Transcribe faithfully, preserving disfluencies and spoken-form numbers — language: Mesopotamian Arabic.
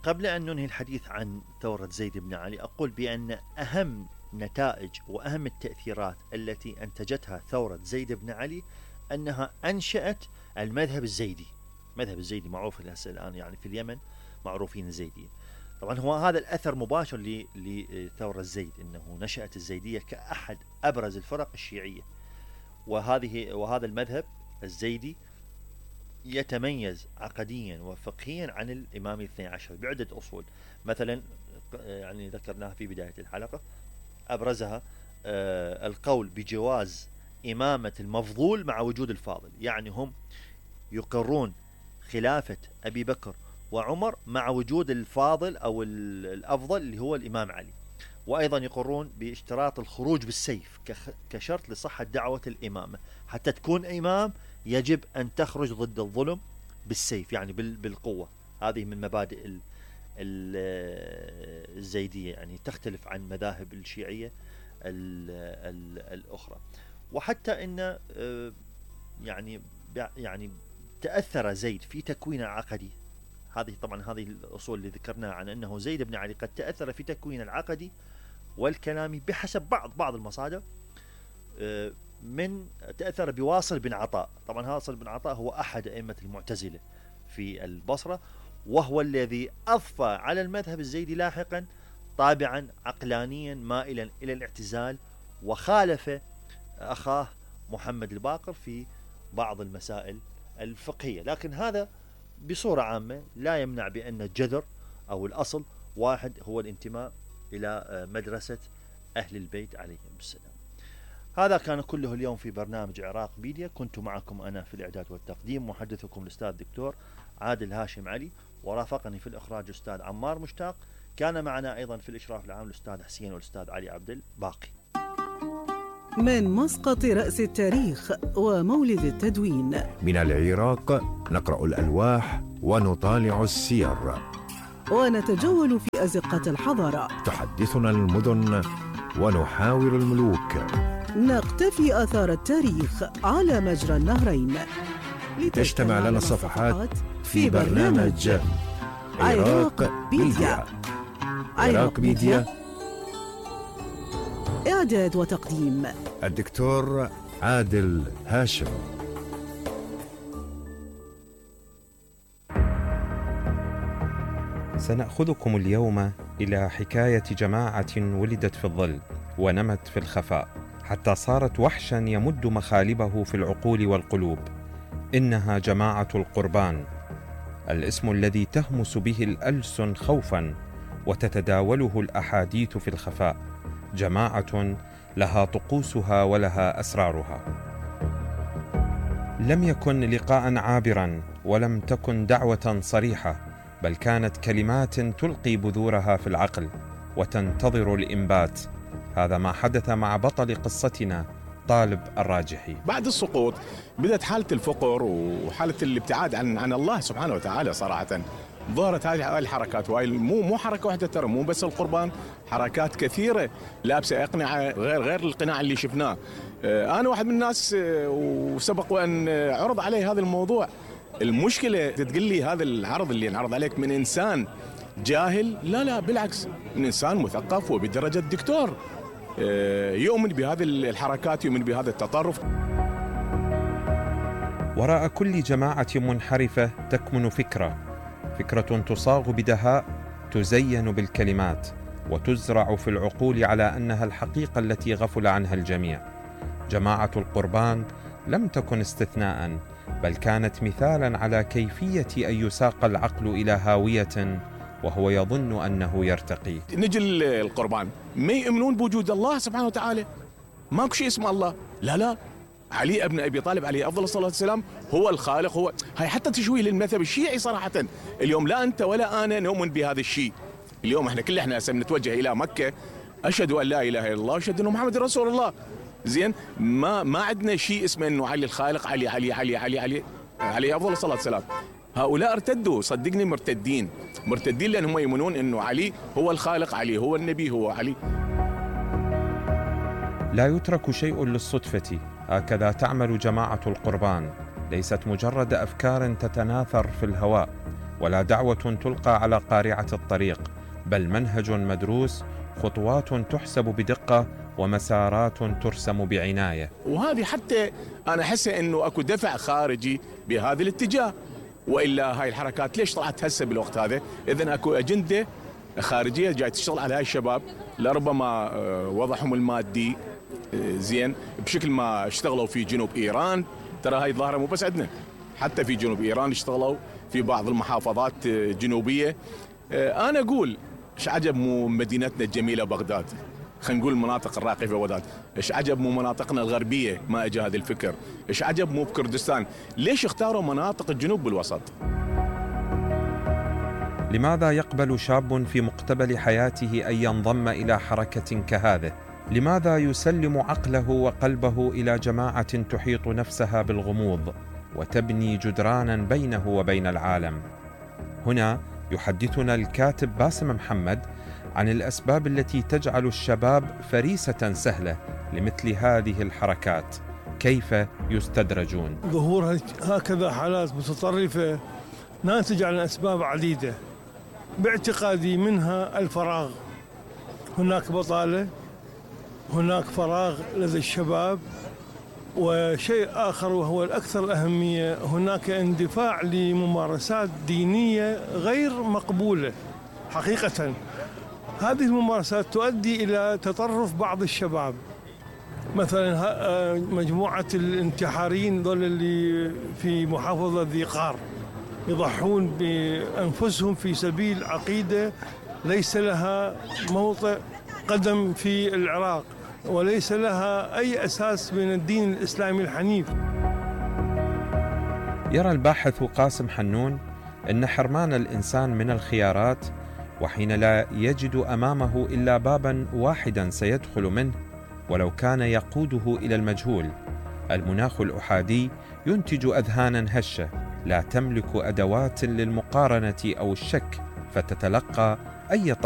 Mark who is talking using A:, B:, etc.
A: قبل أن ننهي الحديث عن ثورة زيد بن علي أقول بأن أهم نتائج وأهم التأثيرات التي أنتجتها ثورة زيد بن علي أنها أنشأت المذهب الزيدي. مذهب الزيدي معروف الآن يعني في اليمن معروفين الزيديين. طبعا هو هذا الأثر مباشر لثورة زيد، أنه نشأت الزيدية كأحد أبرز الفرق الشيعية، وهذه وهذا المذهب الزيدي يتميز عقديا وفقهيا عن الإمام الاثني عشر بعدة أصول، مثلا يعني ذكرناها في بداية الحلقة، أبرزها آه القول بجواز إمامة المفضول مع وجود الفاضل، يعني هم يقرون خلافة أبي بكر وعمر مع وجود الفاضل أو الأفضل اللي هو الإمام علي، وأيضا يقرون باشتراط الخروج بالسيف كشرط لصحة دعوة الإمامة، حتى تكون إمام يجب أن تخرج ضد الظلم بالسيف، يعني بالقوة. هذه من مبادئ الزيدية، يعني تختلف عن مذاهب الشيعية الأخرى. وحتى إن يعني يعني تأثر زيد في تكوين العقدي، هذه طبعا هذه الأصول اللي ذكرناها عن أنه زيد بن علي قد تأثر في تكوين العقدي والكلامي بحسب بعض بعض المصادر، من تأثر بواصل بن عطاء. طبعا واصل بن عطاء هو أحد أئمة المعتزلة في البصرة، وهو الذي أضفى على المذهب الزيدي لاحقا طابعا عقلانيا مائلا إلى الاعتزال، وخالف أخاه محمد الباقر في بعض المسائل الفقهية. لكن هذا بصورة عامة لا يمنع بأن الجذر أو الأصل واحد، هو الانتماء إلى مدرسة أهل البيت عليهم السلام. هذا كان كله اليوم في برنامج عراق ميديا. كنت معكم أنا في الإعداد والتقديم محدثكم الأستاذ الدكتور عادل هاشم علي، ورافقني في الإخراج الأستاذ عمار مشتاق. كان معنا أيضا في الإشراف العام الأستاذ حسين والأستاذ علي عبد الباقي.
B: من مسقط رأس التاريخ ومولد التدوين،
C: من العراق نقرأ الألواح ونطالع السير،
B: ونتجول في أزقة الحضارة.
C: تحدثنا المدن ونحاور الملوك،
B: نقتفي آثار التاريخ على مجرى النهرين،
C: لتجتمع لنا الصفحات في برنامج عراق ميديا. عراق ميديا،
B: إعداد وتقديم
C: الدكتور عادل هاشم.
D: سنأخذكم اليوم إلى حكاية جماعة ولدت في الظل ونمت في الخفاء حتى صارت وحشا يمد مخالبه في العقول والقلوب. إنها جماعة القربان، الاسم الذي تهمس به الألسن خوفا وتتداوله الأحاديث في الخفاء. جماعة لها طقوسها ولها أسرارها. لم يكن لقاء عابرا، ولم تكن دعوة صريحة، بل كانت كلمات تلقي بذورها في العقل وتنتظر الإنبات. هذا ما حدث مع بطل قصتنا طالب الراجحي.
E: بعد السقوط بدأت حالة الفقر وحالة الابتعاد عن عن الله سبحانه وتعالى. صراحة ظهرت هذه الحركات، وهي مو مو حركة واحدة ترى، مو بس القربان، حركات كثيرة لابسة أقنعة غير غير القناع اللي شفناه. أنا واحد من الناس وسبق وأن عرض علي هذا الموضوع. المشكلة تقول لي هذا العرض اللي انعرض عليك من إنسان جاهل؟ لا لا بالعكس، من إنسان مثقف وبدرجة دكتور يؤمن بهذه الحركات، يؤمن بهذا التطرف.
D: وراء كل جماعة منحرفة تكمن فكرة، فكرة تصاغ بدهاء، تزين بالكلمات، وتزرع في العقول على أنها الحقيقة التي غفل عنها الجميع. جماعة القربان لم تكن استثناء، بل كانت مثالا على كيفية أن يساق العقل إلى هاوية وهو يظن أنه يرتقي.
E: نجي القربان ما يؤمنون بوجود الله سبحانه وتعالى، ماكو شيء اسمه الله. لا لا، علي ابن أبي طالب عليه أفضل الصلاة والسلام هو الخالق. هو هاي حتى تشويه للمذهب الشيعي صراحة. اليوم لا أنت ولا أنا نؤمن بهذا الشيء. اليوم احنا كل احنا نتوجه إلى مكة، أشهد أن لا إله إلا الله، أشهد أن محمد رسول الله. زين، ما ما عندنا شيء اسمه انه علي الخالق، علي علي علي علي علي علي افضل الصلاه والسلام. هؤلاء ارتدوا، صدقني مرتدين، مرتدين لانهم يؤمنون انه علي هو الخالق، علي هو النبي، هو علي.
D: لا يترك شيء للصدفة، هكذا تعمل جماعة القربان. ليست مجرد أفكار تتناثر في الهواء، ولا دعوة تلقى على قارعة الطريق، بل منهج مدروس، خطوات تحسب بدقة، ومسارات ترسم بعناية.
E: وهذه حتى أنا أحس أنه أكو دفع خارجي بهذا الاتجاه، وإلا هاي الحركات ليش طلعت هسه بالوقت هذا؟ إذن أكو أجندة خارجية جاي تشتغل على هاي الشباب، لربما وضعهم المادي زين بشكل ما اشتغلوا في جنوب إيران. ترى هاي الظاهرة مو بس عندنا، حتى في جنوب إيران اشتغلوا في بعض المحافظات الجنوبية. أنا أقول إيش عجب مو مدينتنا الجميلة بغداد، خلينا نقول المناطق الراقية في بغداد، إيش عجب مو مناطقنا الغربية ما أجى هذا الفكر، إيش عجب مو بكردستان، ليش اختاروا مناطق الجنوب بالوسط؟
D: لماذا يقبل شاب في مقتبل حياته أن ينضم إلى حركة كهذه؟ لماذا يسلم عقله وقلبه إلى جماعة تحيط نفسها بالغموض وتبني جدرانا بينه وبين العالم؟ هنا يحدثنا الكاتب باسم محمد عن الأسباب التي تجعل الشباب فريسة سهلة لمثل هذه الحركات، كيف يستدرجون؟
F: ظهور هكذا حالات متطرفة ناتج عن أسباب عديدة، باعتقادي منها الفراغ. هناك بطالة، هناك فراغ لدى الشباب، وشيء آخر وهو الأكثر أهمية، هناك اندفاع لممارسات دينية غير مقبولة حقيقة. هذه الممارسات تؤدي إلى تطرف بعض الشباب، مثلا مجموعة الانتحاريين دول اللي في محافظة ذي قار يضحون بأنفسهم في سبيل عقيدة ليس لها موطئ قدم في العراق وليس لها أي أساس من الدين الإسلامي الحنيف.
D: يرى الباحث قاسم حنون أن حرمان الإنسان من الخيارات، وحين لا يجد أمامه إلا بابا واحدا سيدخل منه ولو كان يقوده إلى المجهول، المناخ الأحادي ينتج أذهانا هشة لا تملك أدوات للمقارنة أو الشك، فتتلقى أي طرف